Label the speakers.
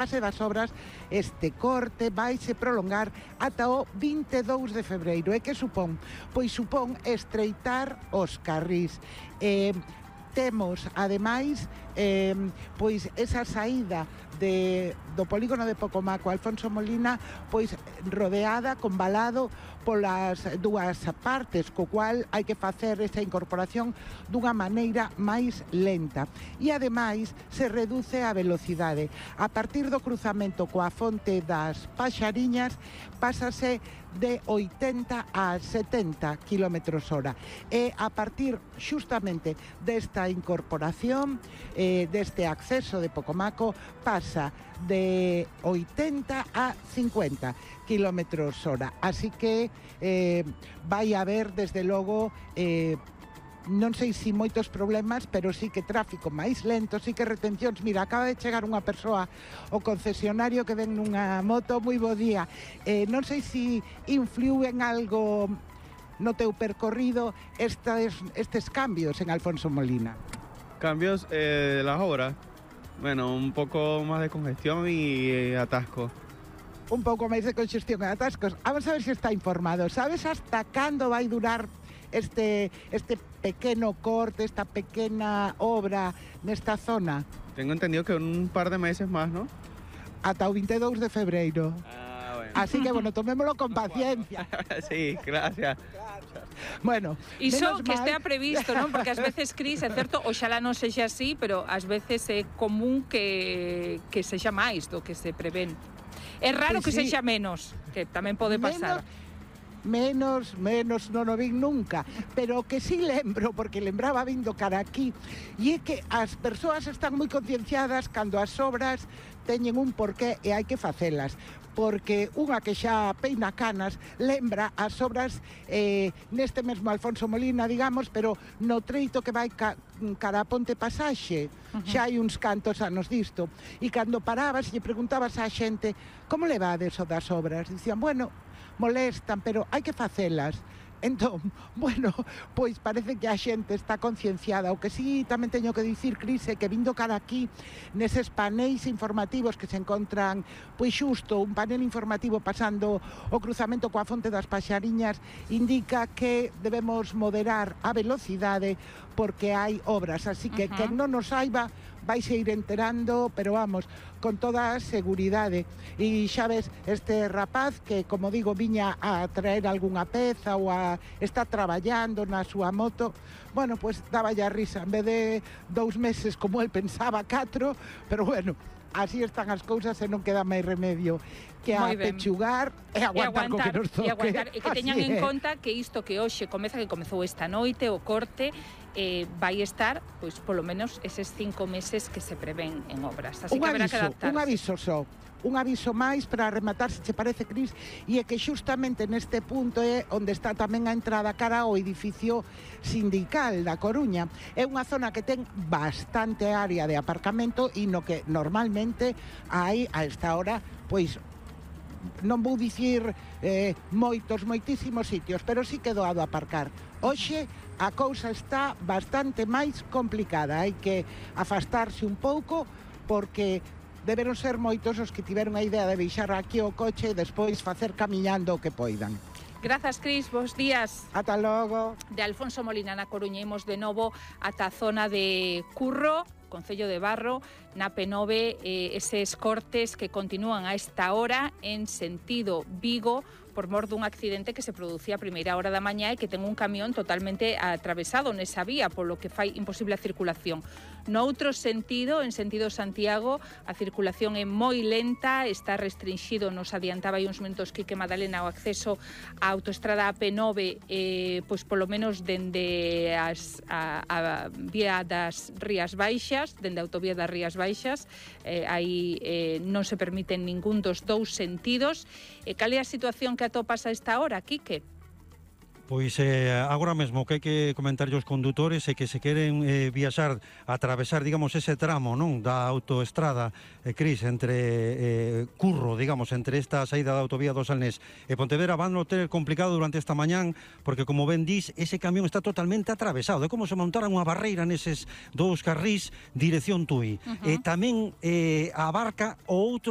Speaker 1: base das obras, este corte vaise prolongar ata o 22 de febreiro. E que supón? Pois supón estreitar os carrís. Temos, ademais, pois esa saída do polígono de Pocomaco Alfonso Molina, pois rodeada, convalado polas dúas partes, co cual hai que facer esa incorporación dunha maneira máis lenta. E ademais se reduce a velocidade. A partir do cruzamento coa fonte das Paxariñas pásase de 80 a 70 km/h. E a partir xustamente desta incorporación, deste acceso de Pocomaco, pasa de 80 a 50 km/h. Así que vai haber, desde logo, non sei se moitos problemas, pero sí que tráfico máis lento, sí que retencións. Mira, acaba de chegar unha persoa ao concesionario que ven nunha moto. Moi bo día. Non sei se influiu en algo no teu percorrido estes cambios en Alfonso Molina.
Speaker 2: Cambios de las obras. Bueno, un poco más de congestión y atasco.
Speaker 1: Un pouco máis de congestión e atascos. Vamos a ver se está informado. Sabes hasta cando vai durar este pequeno corte, esta pequena obra nesta zona?
Speaker 2: Tengo entendido que un par de meses más, ¿no?
Speaker 1: Ata o 22 de febreiro.
Speaker 2: Bueno.
Speaker 1: Así que, bueno, tomémolo con paciencia.
Speaker 2: Sí, gracias.
Speaker 1: Bueno,
Speaker 3: iso que estea previsto, non? Porque ás veces, Cris, é certo, oxalá non sexa así, pero ás veces é común que sexa máis do que se prevén. É raro que sexa menos, que tamén pode pasar.
Speaker 1: Menos, non o vin nunca, pero que sí lembro, porque lembraba vindo cara aquí, e é que as persoas están moi concienciadas cando as obras teñen un porqué e hai que facelas, porque unha que xa peina canas lembra as obras neste mesmo Alfonso Molina, digamos, pero no treito que vai cara a Ponte Pasaxe. Xa hai uns cantos anos disto, e cando parabas e lle preguntabas á xente como levades o das obras, dicían, bueno, molestan, pero hai que facelas. Entón, bueno, pois parece que a xente está concienciada. O que sí tamén teño que dicir, Cris, é que vindo cara aquí neses paneis informativos que se encontran, pois xusto un panel informativo pasando o cruzamento coa fonte das Paxariñas, indica que debemos moderar a velocidade porque hai obras, así que quen non nos saiba vais a ir enterando, pero vamos, con toda a seguridade. E xa ves, este rapaz que, como digo, viña a traer algunha peza ou está traballando na súa moto, bueno, pues daba ya risa, en vez de 2 meses como el pensaba, 4, pero bueno, así están as cousas e non queda máis remedio que a pechugar e aguantar co que nos toque.
Speaker 3: E que teñan en conta que isto que hoxe comeza, que comezou esta noite, o corte, vai estar, pois, polo menos eses 5 meses que se prevén en obras. Así que haberá que adaptarse.
Speaker 1: Un aviso máis para rematar, se che parece, Cris, e é que xustamente neste punto é onde está tamén a entrada cara ao edificio sindical da Coruña. É unha zona que ten bastante área de aparcamento e no que normalmente hai a esta hora, pois, non vou dicir moitísimos sitios, pero sí que doado aparcar. Hoxe a cousa está bastante máis complicada, hai que afastarse un pouco porque deberon ser moitos os que tiveron a idea de deixar aquí o coche e despois facer camiñando o que poidan.
Speaker 3: Grazas, Cris, bons días.
Speaker 1: Ata logo.
Speaker 3: De Alfonso Molina na Coruña imos de novo ata a zona de Curro, Concello de Barro, na P9, eses cortes que continúan a esta hora en sentido Vigo, por mor dun accidente que se producía a primeira hora da mañá e que ten un camión totalmente atravesado nesa vía, polo que fai imposible a circulación. No outro sentido, en sentido Santiago, a circulación é moi lenta, está restringido, nos adiantaba aí uns minutos Quique Madalena, o acceso á autoestrada AP9, pois polo menos dende a vía das Rías Baixas, dende a autovía das Rías Baixas, aí non se permiten ningún dos dous sentidos. Cal é a situación que atopas a esta hora, Quique?
Speaker 4: Pois agora mesmo que hai que comentar aos condutores é que se queren viaxar, atravesar, digamos, ese tramo, non, da autoestrada, Cris, entre Curro, digamos, entre esta saída da autovía do Salnés e Pontevedra, van a ter complicado durante esta mañán, porque, como ben dis, ese camión está totalmente atravesado. É como se montaran unha barreira neses dous carrís dirección Tui. E tamén abarca o outro